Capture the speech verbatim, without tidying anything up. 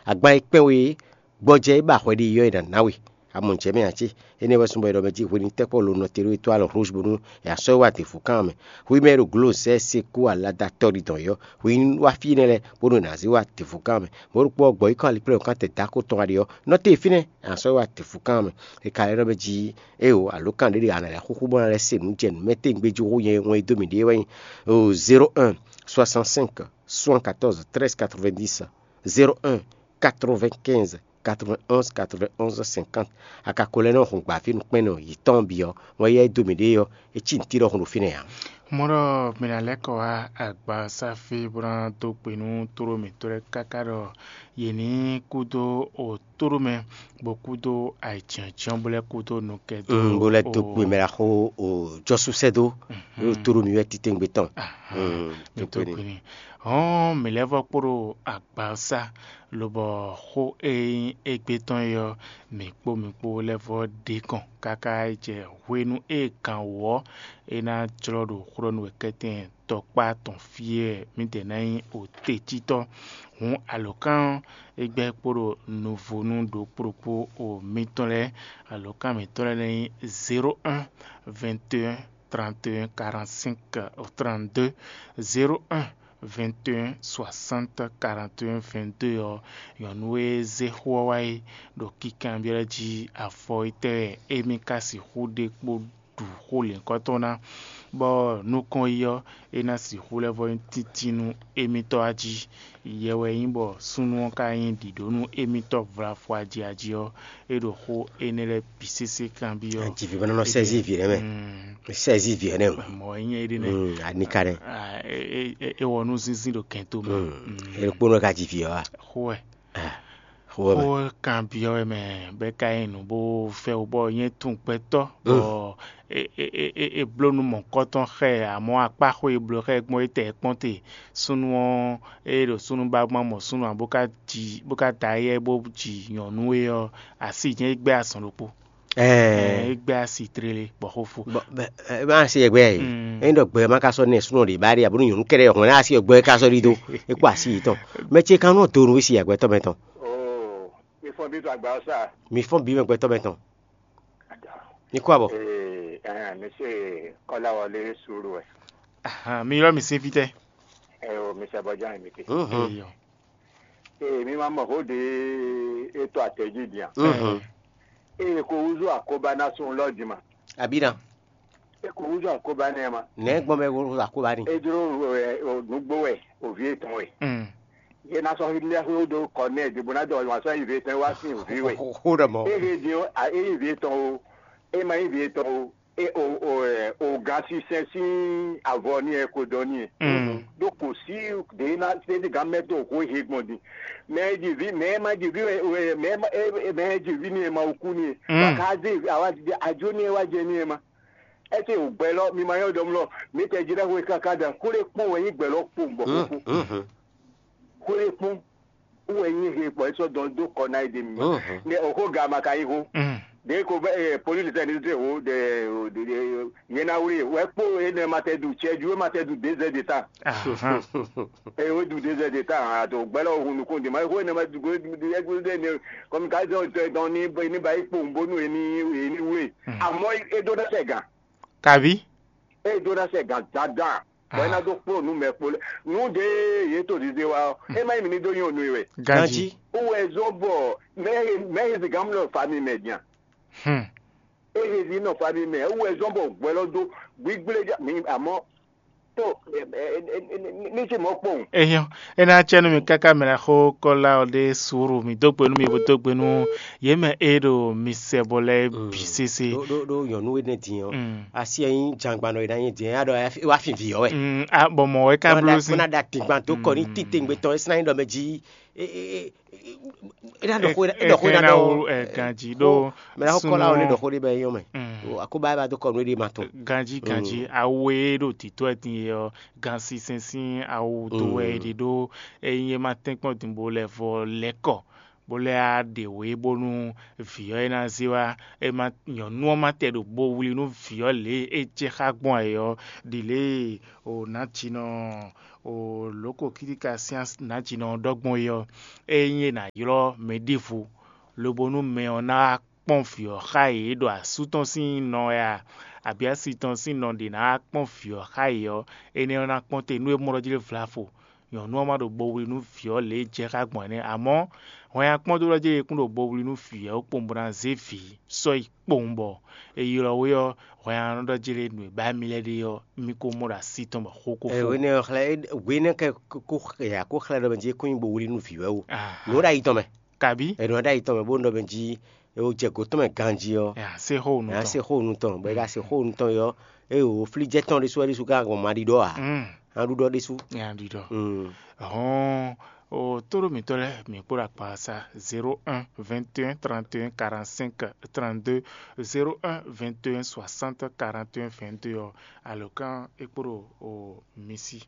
Agban e kpɛ́n we é, gbɔjɛ́ e ba hwɛ ɖe yɔ́ e nǎ ná we. A mɔ nǔ jɛ mɛ ǎ cé? Énɛ́ wɛ súnbɔ è ɖɔ mɛ jí hwenu tɛ́ Pɔ́lu nɔ te ɖó é tó alɔ Hlozbunu, è nǎ sɔ́ é wá dě fú kan mɛ. Hwi mɛ e ɖo glo zɛ́ se kú alada tɔ́ ɖi dɔn yɔ́, hwi ní wá fí énɛ́ lɛ́ɛ, bónú è nǎ zé wá dě fú kan mɛ. Mɔ̌ ɖokpó ɔ́, gbɔ̌ yi kɔn aliplɛ́ kan tɛ dǎ ko tɔn wá ɖe ɔ́, nɔ te fínɛ́, è nǎ sɔ́ é wá dě fú kan mɛ. È ka lɛ́ ɖɔ mɛ jí éeǒ, alǒ kan ɖé ɖe a nǎ lɛ́ xúxú bó ná lɛ́ se nǔ jɛ nǔ mɛ tɛ́ngbé jí hú nyɛ wɛn e dó mì ɖe é wɛ nyí zéro un soixante-cinq soixante-quatorze treize quatre-vingt-dix, zéro un quatre-vingt-quinze quatre-vingt-onze quatre-vingt-onze cinquante. A ka ko lɛ́ nɔ hun gbǎví nukpɛ́nnɔ yětɔn bǐ ɔ́, wɛn yá e dó mì ɖe ɔ́, é cí nǔtí ɖɔhun ɖo fínɛ́ ǎ. Mɔ̌ ɖɔ mǐ ná lɛ́ kɔ wá agbasáfí bó ná dó gbe nú tóɖó mǐtɔn lɛ́ɛ káká ɖɔ yě ní kúdó otóɖó mɛ, bó kúdó ayǐjínjɔ́n, bó lɛ́ kúdó nukɛn dó. Mm, bó lɛ́ dó gbe mɛ ɖaxó o jɔsúsɛ́ dó ɖo tóɖó mǐ wɛ titewungbe tɔn. Mǐ dó gbe n'i. Hɔn mǐ lɛ́ vɔ kpo ɖo agbawúsá, lobɔ xó e nyí égbé tɔn é ɔ́, mǐ kpó mi kpó lɛ́ vɔ ɖe kɔn káká yi jɛ hwenu e gǎn wǒ ɔ́, é ná jlɔ́ ɖo xó ɖɔ nú wɛ kɛ́tɛ́n tɔkpá tɔn fí wɛ mǐdɛɛ ná nyí otecítɔ́. Hǔn alǒkan ɔ́, é gbɛ́ kpo ɖo nuvonu ɖokpó ɖokpó o mitɔn lɛ́ɛ. Alǒkan mǐtɔn lɛ́ɛ ná nyí zéro un vingt et un trente et un quarante-cinq trente-deux, zéro un vingt et un soixante quarante et un vingt-deux ɔ́, nyɔ̌nu e zé xó ɔ́ wá é ɖo kinkanbyɔ́ lɛ́ɛ jí afɔ étɛ́ wɛ émí ka sixú ɖe kpó ɖu xó lěhunkɔtɔn ná, bɔ nukɔn yi ɔ́, é ná sixú lɛ́ vɔ nyí tíntín nú émítɔ́ a jí. Yɛ wɛ nyí bɔ súnnu ɔ́ ka nyí ɖǐɖó nú émítɔ́ vlafɔ ajiaji ɔ́, é ɖo xó énɛ́ lɛ́ɛ bǐ sésé kanbyɔ́. Ajivi mɛ nɔ sɛzi vi nɛ mɛ. Sɛzi vi nɛ o. Mɔ nyɛ ɖe nɛ. Anika nɛ. É wɔ nú zínzín ɖo kɛn tó mɛ. É ɖo kpónɔ ka ji vi ɔ́ a? Xó wɛ. Xó wɛ mɛ. Xó kanbyɔ́ wɛ mɛ bɛ ka nyí nǔ bó fɛ wú bɔ nyɛ tún gbɛtɔ́ bɔ é bló nú mɔ̌kɔtɔn xɛ, amɔ̌ akpáxó e bló xɛ gbɔn é tɛ kpɔ́n te. Súnnu ɔ́, é ɖo súnnu ba gbɔn mɔ súnnu ǎ bó ka ji bó ka da éyɛ́ bó ji nyɔ̌nu é ɔ́, así jɛ́n é gbɛ́ azɔn ɖokpó. Ɛɛ, é gbɛ́ asi tlélé bɔ xó fó. Bɔ bɛ ɛ bá si ɛgbɛ yɛ. Ɛ ɖɔ gbɛ ma ka sɔ nɛ súnɔ ɖe bá ɖe abonu nyɔnu kɛɖɛ hɔn asi ɛgbɛ ka sɔ ɖi do. E kó asi yìí tɔn. Mɛ ce kan nɔ do nu si ɛgbɛ tɔ mɛ tɔn. Oo, mi fɔn bí tó àgbà ɔsà. Mi fɔn bí mɛ gbɛtɔ mɛ tɔn. Ada. Ní kó abɔ. Ee, ɛn, mi se kɔla wọlé sùúrù ɛ. Ahan, mi yɔ mi sin fitɛ. Ɛ o, mi sɛ bɔjá mi te. Mhm. Eyɔ. Ee, mi ma mɔ xó ɖe e to atɛji dia. Mhm. Ee, ko wuzu akoba na sun lɔ di ma. Abina. E ko wuzu akoba nɛ ma. Nɛ gbɔn bɛ wuzu akoba ni. E dro ɛ, o nugbo wɛ, o vi etɔn wɛ. Mm. Ye na sɔ hi lɛ xo do kɔ nɛ di bo na dɔ wa sɔ yi vi etɔn wa sin o vi wɛ. Xo ɖɔ mɔ. E he di o, a e yi vi etɔn o, e ma yi vi etɔn o, e o o ɛ o ga si sɛ sin avɔ ni ɛ ko dɔ ni ɛ. Mm. Do ko si de na se de ga mɛ to ko he gbɔn di. Mɛ di vi mɛ ma di vi wɛ mɛ ma e mɛ di vi ni ɛ ma o ku ni ɛ. Mm. Wa ka de awa di ajo ni ɛ wa jɛ ni ɛ ma. Ɛ se o gbɛ lɔ mi ma yɔ dɔm lɔ mi tɛ di na ko kaka da ko le kpɔn wɛ yi gbɛ lɔ kpɔn bɔ ko. Xwé kpɔ́n wɛ nyí he bɔ é sɔ́ dɔn dó kɔ ná é ɖe mì. Nɛ òxó ga ma ka yí xó. Ɖě ko bɛ polílì sɛ́ ní zé xó ɖe nyɛ ná wlí wɛ kpó énɛ́ ma tɛ ɖu cɛjú é ma tɛ ɖu dézɛ de tán. Eye wé ɖu dézɛ de tán àtò gbɛlɛ òhun nukún di ma xó énɛ́ ma ɖu gbé ɖu ɛgbé ɖe ní kɔmi ká zɛ òtɔ ɛdɔn ní ní ba yí kpowun bónú é ní é ní wlí. Àmọ́ é ɖó ná sɛ gǎn. Kabi. É ɖó ná sɛ gǎn dandan. Bɔ é ná dó kplɔ́n nǔ mɛ kpo lɛ́ɛ. Nǔ ɖě yě to ɖiɖe wá ɔ́, é má nyí mǐ ní dó nyi onu i wɛ. Ganjí. Wú wɛ zɔ́n bɔ mɛ e mɛ e zǐngán nɔ fa mi mɛ din a? Hmm. É he zǐn nɔ fa mi mɛ wú wɛ zɔ́n bɔ gbɛ lɔ dó gbígblé já mi àmọ́ tó ní sí mɔ̌ kpɔ́n. Ehiɔn, é ná cɛ nú mi káká mɛ lɛ́ɛ xó kɔ́lá ɔ́ ɖe suúru, mi dó gbe nú mi bó dó gbe nú yě mɛ e ɖo mi sɛ bɔ lɛ́ɛ bǐ sésé. Ɖó ɖó ɖó nyɔ̌nu énɛ́ din ɔ́, asi ɛ nyí jangban nɔ e ná nyí din ɛ ɖɔ é wá fin vǐ ɔ́ wɛ. Mm, a bɔ mɔ̌ wɛ ka bló sín. Bó ná ɖa dǐngban dó kɔ ní títengbe tɔn é sín ná nyí ɖɔ mɛ jí é é é é ná ɖɔ xó é ɖɔ xó é ná ɖɔ ganjí ɖó mɛ ná kɔlá ɔ́ lé ɖɔ xó ɖé bɛ yɔn mɛ. Akóbá é ba dó kɔ nú é ɖé ma tɔn. Ganjí ganjí awu e ɖo títú ɛ din e ɔ gan sínsɛ́n sín awu dó wɛ é ɖe ɖó é nyí é má tɛ́nkpɔ́n din bó lɛ vɔ lɛ́ kɔ. bó lɛ́ á ɖe wě bónú vǐ ɔ́ é ná zé wá. É má nyɔ̌nu ɔ́ má tɛ ɖo bo wlí nú vǐ ɔ́ lě e é jɛ xá gbɔn ayǐ ɔ́, ɖi lě e o nǎjinɔ o lǒko kítíka sín nǎjinɔ ɔ́ ɖɔ gbɔn é ɔ́, ényí è nǎ ylɔ́ mɛ ɖěvo lobo nú mɛ ɔ́ ná wá kpɔ́n vǐ ɔ́ xá yě ɖo asú tɔn sín nɔ wɛ a, abǐ asi tɔn sín nɔ ɖě ná wá kpɔ́n vǐ ɔ́ xá yě ɔ́, énɛ́ ɔ́ ná kpɔ́n te nú é mɔ ɖɔ jí é vlavo. Nyɔ̌nu ɔ́ má ɖo bo wlí nú vǐ ɔ́ lě e jɛ xá gbɔn ɛnɛ́, amɔ̌ hwɛ nyi akpɔ́n dó ɖɔ jí é kún ɖo bo wlí nú vǐ ɔ́ kpowun bó ná zé vǐ sɔ́ yi kpowun bɔ è ylɔ́ we ɔ́, hwɛ nyi nɔ ɖɔ jí lě nǔ e ba mì lɛ́ ɖe ɔ́, mi ko mɔ ɖo así tɔn bɔ xó ko fó. Énɛ́ ɔ́ xlɛ́ hwě nɛ́ kɛ kó xlɛ́ ɖɔ mɛ jí é kún nyi bo wlí nú vǐ wɛ o. Nǔ ɖo ayi tɔn mɛ. Kabí? È nɔ ɖo ayi tɔn mɛ bó nɔ ɖɔ mɛ jí é wó jɛ gǒ tɔn mɛ ganjí ɔ́, ɛ á se xó nú ɛ á tɔn. Se xó nú tɔn bɔ é ka se xó nú tɔn yɔ é wò flíjɛ tɔn ɖésú wɛ ɖésú ka gbɔn ma ɖiɖɔ ǎ. Mm. Á ɖu ɖɔ ɖésú. Nya ɖiɖɔ. Mm. Hɔn o tóɖó mǐtɔn lɛ́ɛ mǐ kpó ɖo akpa sa zéro un vingt et un trente et un quarante-cinq trente-deux, zéro un vingt et un soixante quarante et un vingt-deux ɔ́, alɔkán é kpó ɖo o mi sí.